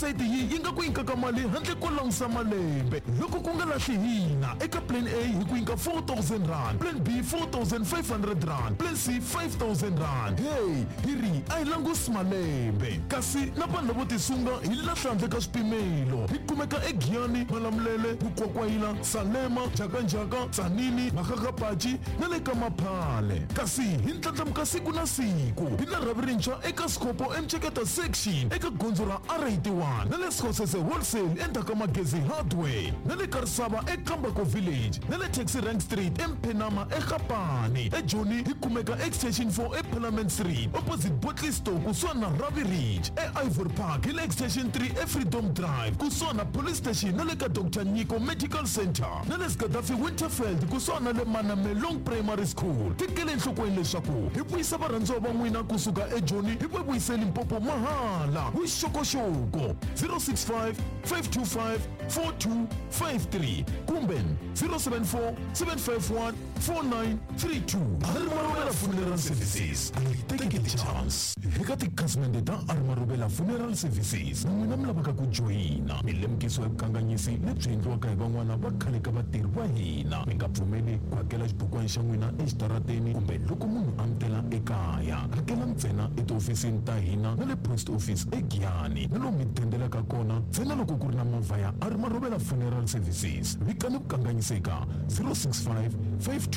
Website yi yi nga ku nyikaka mali handle ko langusa malembe loko ku nga lahli hina eka plan A hi ku nyika 4000 rand, plan B 4500 rand, plan C 5000 rand. Hey, hi ri a hi langusi malembe kasi na vanhu lavo tisunga hi lahla handle ka swipimelo. Hi kumeka eGiyani, Malamulele, Mukwakwayila, Salema, Njhakanjhaka, Tzaneen, Makgakgapachi na le ka Maphale. Kasi hi ndlandlamuka siku na siku. Hi na rhavi rintshwa eka Skhopho eMceketa Section eka gondzo ra R81 na le Skhosese Wholesale endzhaku ka Magezi Hardware na le Karisava eKambako Village na le Taxi Rank Street eMphenama eGapane. EJoni hi kumeka Extension 4 eParliament Street opposite Bottle Store kusuhani na Ravi Ridge. EIvory Park hi le Extension 3 eFreedom Drive kusuhani na Police Station na le ka Doctor Nyiko Medical Centre na le Sgadafi Winterveld kusuhani na le Manamelong Primary School. Tekela enhlokweni leswaku hi vuyisa varhandziwa va n'wina kusuka eJoni hi va vuyise Limpopo mahala. Vuxokoxoko 065 525 4253 kumbe 074 751 4932. Armarubela Funeral Services, hi teke ti-chance eka tikhasimende ta Armarubela Funeral Services. Na n'wina mi lavaka ku joyina milemukiso ya vukanganyisi lebyi endliwaka hi van'wana va khale ka vatirhi va hina, mi nga pfumeli ku hakela xibukwana xa n'wina exitarateni kumbe loko munhu a mi tela ekaya. Hakela ntsena etihofisini ta hina na le post office eGiyani na lomu mi dendelaka kona ntsena loko ku ri na movha ya Armarubela Funeral Services. Vikani vukanganyisi eka 065 525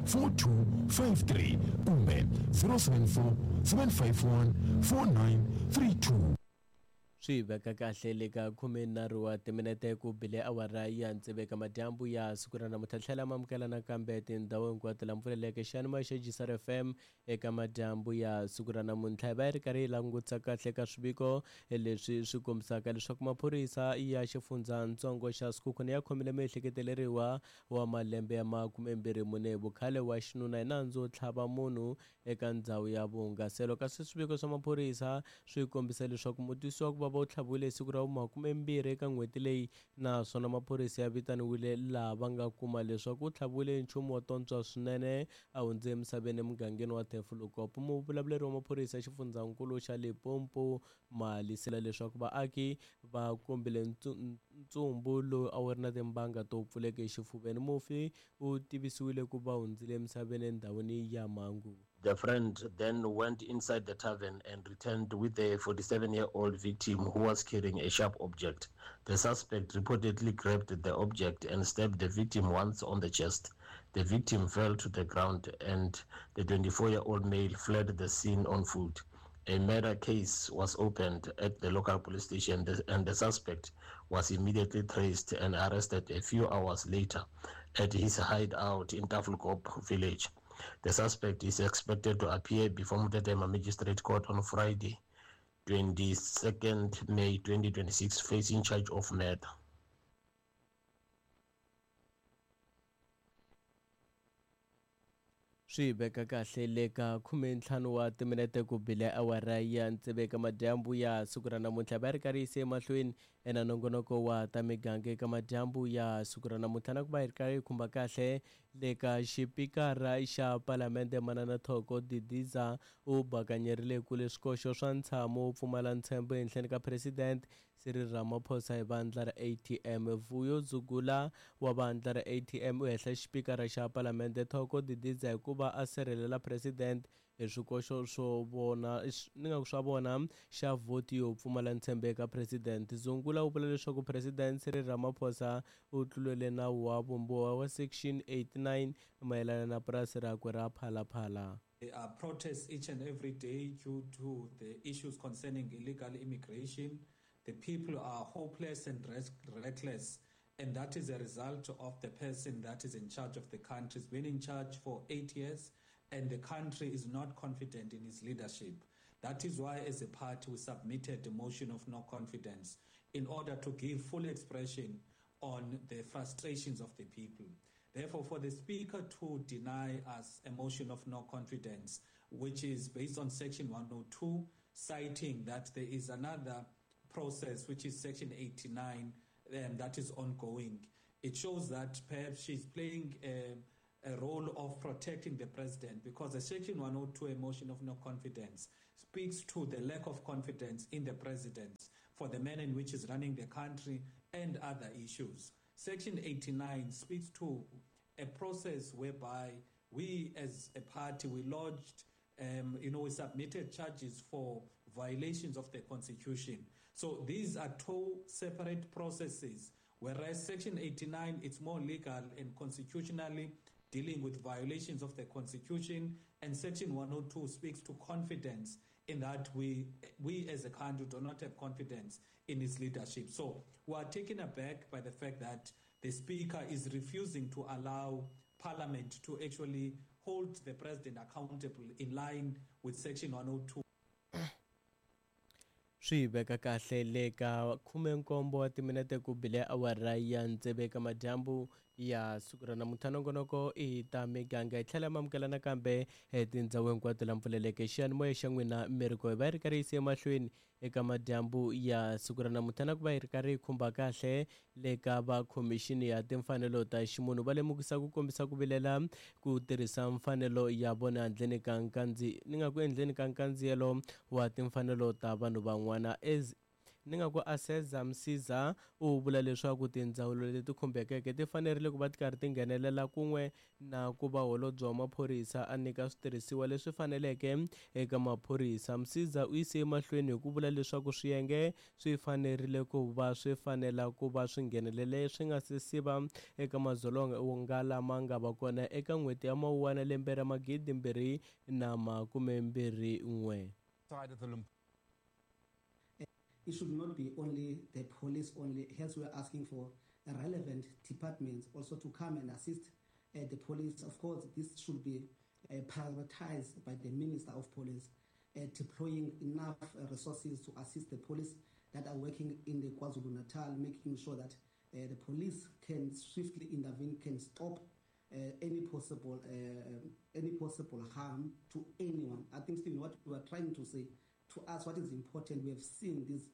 4253 kumbe 074 751 4932. Swi veka kahle le ka 13 wa timinete ku bile awara ya tsevu eka madyambu ya siku ra namuntlha. Tlhela ma amukela nakambe tindhawu hinkwato la mpfuleleke xiyanimoya xa Jisar FM eka madyambu ya siku ra namuntlha. Hi va hi ri karhi hi langutisa kahle ka swiviko leswi swi kombisaka leswaku maphorisa ya xifundzatsongo xa Sekhukhune ya khomile muehleketeleriwa wa malembe ya 24 hi vukhale wa xinuna hi nandzu wo tlhava munhu eka ndzhawu ya vuhungaselo. Kasi swiviko swa maphorisa swi kombisa leswaku mutwisi wa ku vava u tlhaviwile hi siku ra vu 20 eka n'hweti leyi, naswona maphorisa ya vitaniwile laha va nga kuma leswaku u tlhaviwile hi nchumu wo tontswa swinene a hundze emisaveni emugangeni wa Tafelkop. Muvulavuleri wa maphorisa ya xifundzankulu xa Limpopo Malisela leswaku vaaki va kombile ntsumbu lowu a wu ri na timbanga to pfuleka exifuveni. Mufi u tivisiwile ku va hundzile emisaveni endhawini ya mhangu. The friend then went inside the tavern and returned with a 47-year-old victim who was carrying a sharp object. The suspect reportedly grabbed the object and stabbed the victim once on the chest. The victim fell to the ground and the 24-year-old male fled the scene on foot. A murder case was opened at the local police station and the suspect was immediately traced and arrested a few hours later at his hideout in Tafelkop village. The suspect is expected to appear before Motetema Magistrate Court on Friday, 22nd May 2026, facing charge of murder. Swi veka kahle le ka 15 wa timinete ku bile awara ya tsevu eka madyambu ya siku ra namuntlha. Va ri karhi yise emahlweni ena nongonoko wa ta miganga eka madyambu ya siku ra namuntlha, na ku va hi ri karhi hi khumba kahle le ka xipikara xa palamende Manana Thoko Didiza u bakanyerile kule swikoxo swa ntshamo wo pfumala ntshembo ehenhleni ka President Cyril Ramaphosa hi vandla ra ATM. Vuyo Zugula wa vandla ra ATM u hehla xipikara xa palamende Thoko Didiza hikuva a sirhelela President hi swikoxo swo vona ni nga ku swa vona xa vhoti yo pfumala ntshembo eka President. Zungula u vula leswaku President Cyril Ramaphosa u tlulele nawu wa vumbiwa wa Section 89 mayelana na purasi rakwe ra Phalaphala. There are protests each and every day due to the issues concerning illegal immigration. The people are hopeless and reckless, and that is a result of the person that is in charge of the country. He's been in charge for 8 years, and the country is not confident in his leadership. That is why, as a party, we submitted a motion of no confidence in order to give full expression on the frustrations of the people. Therefore, for the Speaker to deny us a motion of no confidence, which is based on Section 102, citing that there is another process, which is Section 89, that is ongoing. It shows that perhaps she's playing a role of protecting the president, because the Section 102 motion of no confidence speaks to the lack of confidence in the president. for the manner in which he's running the country and other issues. Section 89 speaks to a process whereby we as a party, we lodged, you know, we submitted charges for violations of the Constitution. So these are two separate processes, whereas Section 89, it's more legal and constitutionally dealing with violations of the Constitution, and Section 102 speaks to confidence in that we as a country do not have confidence in his leadership. So we are taken aback by the fact that the Speaker is refusing to allow Parliament to actually hold the President accountable in line with Section 102. Swi veka kahle le ka 17 wa timinete ku bile awara ya tsevu ka madyambu ya siku ra namuntlha. Nongonoko i ta miganga hi tlhela mamukela nakambe tindhawu hinkwato la mpfuleleke xiyanimoya xa n'wina miriko hi va yi ri karhi yi yise emahlweni eka madyambu ya siku ra namuntlha na ku va yi ri karhi yi khumba kahle le ka va khomixini ya timfanelo ta ximunhu va lemukisa ku kombisa ku vilela ku tirhisa mfanelo ya vona handleni ka ni nga ku endleni ka nkandziyelo wa timfanelo ta vanhu van'wana. Ni nga ku Aseza Msiza u vula leswaku tindzawulo leti khumbekeke ti fanerile ku va ti karhi ti nghenelela kun'we na ku va holobye wa maphorisa a nyika switirhisiwa leswi faneleke eka maphorisa. Msiza u yise emahlweni hi ku vula leswaku swiyenge swi fanerile ku va swi fanela ku va swi nghenelele swi nga se siva eka madzolonga lama nga va kona eka n'hweti ya Mawuwani lembe ra 2021. It should not be only the police only. Hence, we are asking for relevant departments also to come and assist the police. Of course, this should be prioritized by the Minister of Police, deploying enough resources to assist the police that are working in the KwaZulu-Natal, making sure that the police can swiftly intervene, can stop any possible harm to anyone. I think, Stephen, what we are trying to say to us, what is important, we have seen these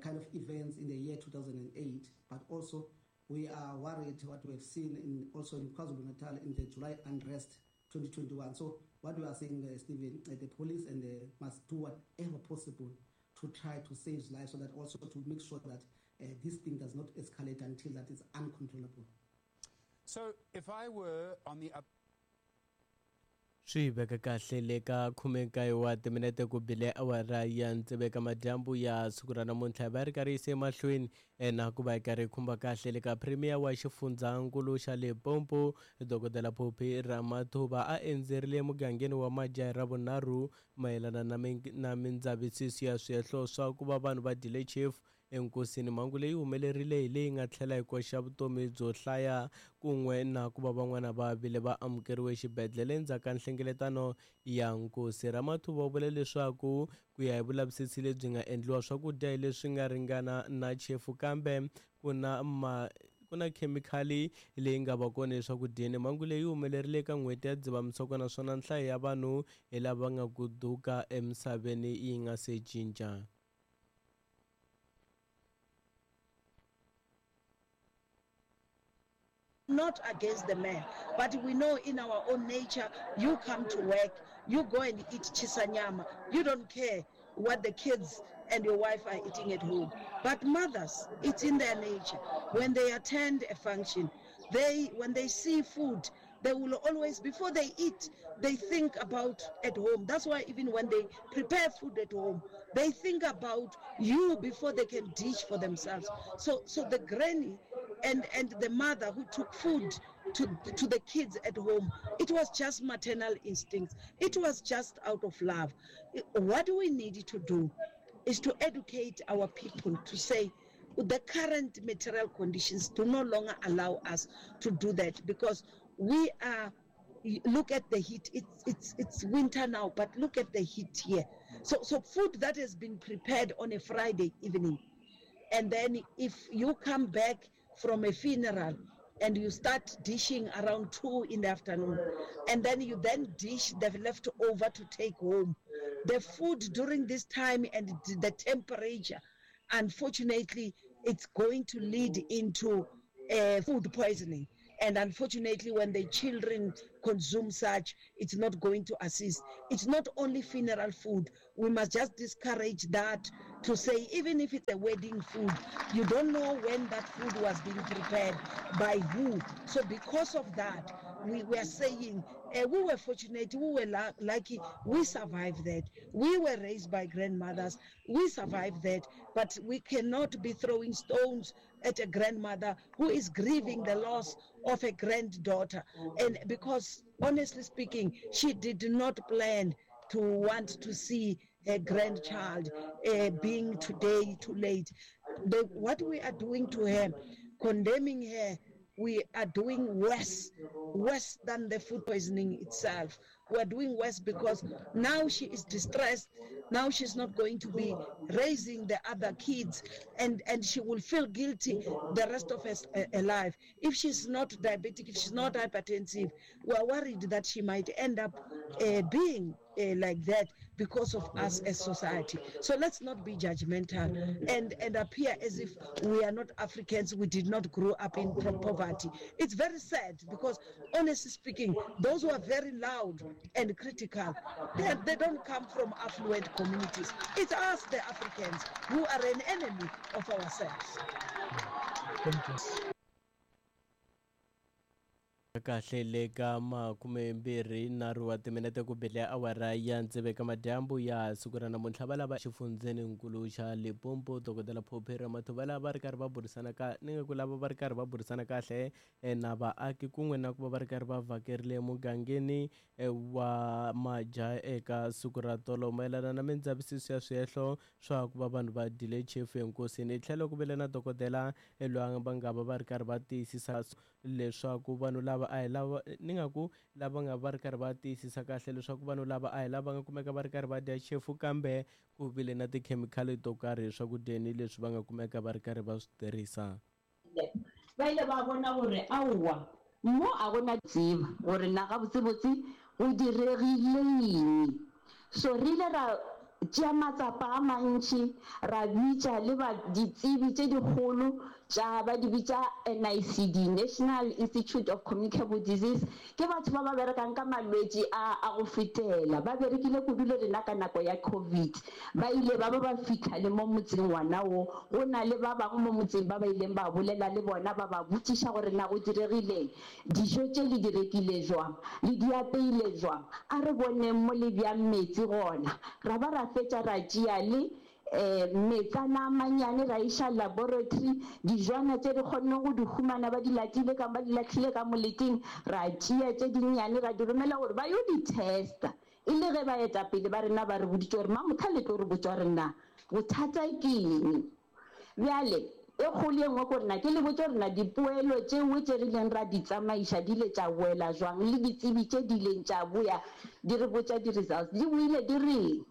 kind of events in the year 2008, but also we are worried what we have seen in KwaZulu-Natal in the July unrest 2021. So what we are saying, Stephen, the police and the must do whatever possible to try to save lives, so that also to make sure that this thing does not escalate until that is uncontrollable. So if I were on the Swi veka kahle le ka 19 wa timinete ku bile awara ya tsevu ka madyambu ya siku ra namuntlha va ri karhi yise emahlweni na ku va yi karhi yi khumba kahle le ka Premier wa xifundzankulu xa Limpopo Dokodela Phophi Ramathuba a endzerile emugangeni wa Majahi ra vunharhu mayelana na mindzavisiso ya swihehlo swa ku va vanhu va dyile chefu enkosini. Mhangu leyi humelerile hi leyi nga tlhela yi koxa vutomi byo hlaya kun'we na ku va van'wana va vile va amukeriwe xibedhlele endzhaku ka nhlengeletano ya nkosi. Ramathuba u vule leswaku ku ya hi vulavisisi lebyi nga endliwa swakudya hi leswi nga ringana na chefu kambe ku na khemikhali leyi nga va kona eswakudyeni. Mhangu leyi humelerile eka n'hweti ya Dzivamisoko naswona nhlayo ya vanhu hi lava nga kuduka emisaveni yi nga se cinca. Not against the man, but we know in our own nature, you come to work, you go and eat chisanyama, you don't care what the kids and your wife are eating at home. But mothers, it's in their nature. When they attend a function, when they see food, they will always, before they eat, they think about at home. That's why even when they prepare food at home, they think about you before they can dish for themselves. So the granny and the mother who took food to the kids at home, it was just maternal instincts. It was just out of love. What we need to do is to educate our people to say the current material conditions do no longer allow us to do that, because we are, look at the heat, it's winter now, but look at the heat here. So food that has been prepared on a Friday evening, and then if you come back from a funeral and you start dishing around 2 in the afternoon, and then you then dish the leftover to take home. The food during this time and the temperature, unfortunately, it's going to lead into food poisoning. And unfortunately, when the children consume such, it's not going to assist. It's not only funeral food. We must just discourage that to say, even if it's a wedding food, you don't know when that food was being prepared, by who. So because of that, we were saying, we were fortunate, we were lucky, we survived that. We were raised by grandmothers, we survived that. But we cannot be throwing stones at a grandmother who is grieving the loss of a granddaughter. And because, honestly speaking, she did not plan to want to see her grandchild being today too late. What we are doing to her, condemning her, we are doing worse than the food poisoning itself. We are doing worse because now she is distressed. Now she's not going to be raising the other kids, and she will feel guilty the rest of her life. If she's not diabetic, if she's not hypertensive, we are worried that she might end up being like that because of us as society. So let's not be judgmental and appear as if we are not Africans, we did not grow up in poverty. It's very sad because, honestly speaking, those who are very loud and critical, they don't come from affluent communities. It's us, the Africans, who are an enemy of ourselves. Thank you. Kahle le ka 23 wa timinete ku bile awara ya 6 ka madyambu ya siku ra namuntlha va lava xifundzeninkulu xa Limpopo Dokodela Phophi Ramathuba lava va ri karhi va burisana ka ni nga ku lava va ri karhi va burisana kahle na vaaki kun'we na ku va va ri karhi va vhakerile mugangeni wa Maja eka siku ra tolo mayelana na mindzavisiso ya swihehlo swa ku va vanhu va dyile chefu enkosini. Tlhelo ku vile na dokodela loyi va nga va va ri karhi va tiyisisa leswaku vanhu lava a hi lava ni nga ku lava nga va ri karhi va tiyisisa kahle leswaku vanhu lava a hi lava nga kumeka va ri karhi va dya chefu kambe ku vile na tikhemikhali to karhi eswakudyeni leswi va nga kumeka va ri karhi va swi tirhisa. Va ile va bona gore aowa mo a gona tseba gore na gabotsebotse go diregile eng. So re ile ra tšea matsapa a mantši, ra bitša le ba ditsebi tše dikgolo tša ba di bitša NICD, National Institute of Communicable Disease. Ke batho ba ba berekang ka malwetši a go fetela, ba berekile kudu le rena ka nako ya COVID. Ba ile ba ba ba fihla le mo motseng ngwana wo, go na le ba bangwe mo motseng ba ba ileng ba bolela le bona, ba ba botšiša gore na go diregileng, dijo tše le di rekile jwang, le di apeile jwang, a re boneng mo le bjang metsi gona. Ra ba ra fetša ra tšea le metsana a manyane ra iša laboratory, dijwana tše re kgonne go di humana ba di latile ka ba di lahlile ka moleteng, ra tšea tše dinnyane ra di romela gore ba yo di testa. E le ge baetapele ba rena ba re boditše gore mamotha le tlo re botša gore na bothata ke eng. Bjale e kgolo e nngwe ko rena ke le botša gore na dipoelo tšeo tše re ileng ra di tsamaiša di ile tša boela jwang, le ditsebi tše di ileng tša boya di re botša di-results di boile di reng.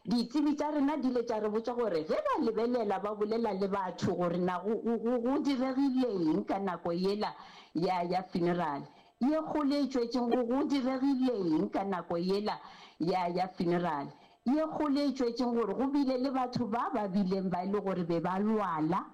Ditsebi tša rena di ile tša re botša gore ge ba lebelela ba bolela le batho gore na go diregileng ka nako yela ya funeral ye kgolo e tšwetšeng, go diregileng ka nako yela ya funeral ye kgolo e tšwetšeng, gore go bile le batho ba ba bileng ba e le gore be ba lwala.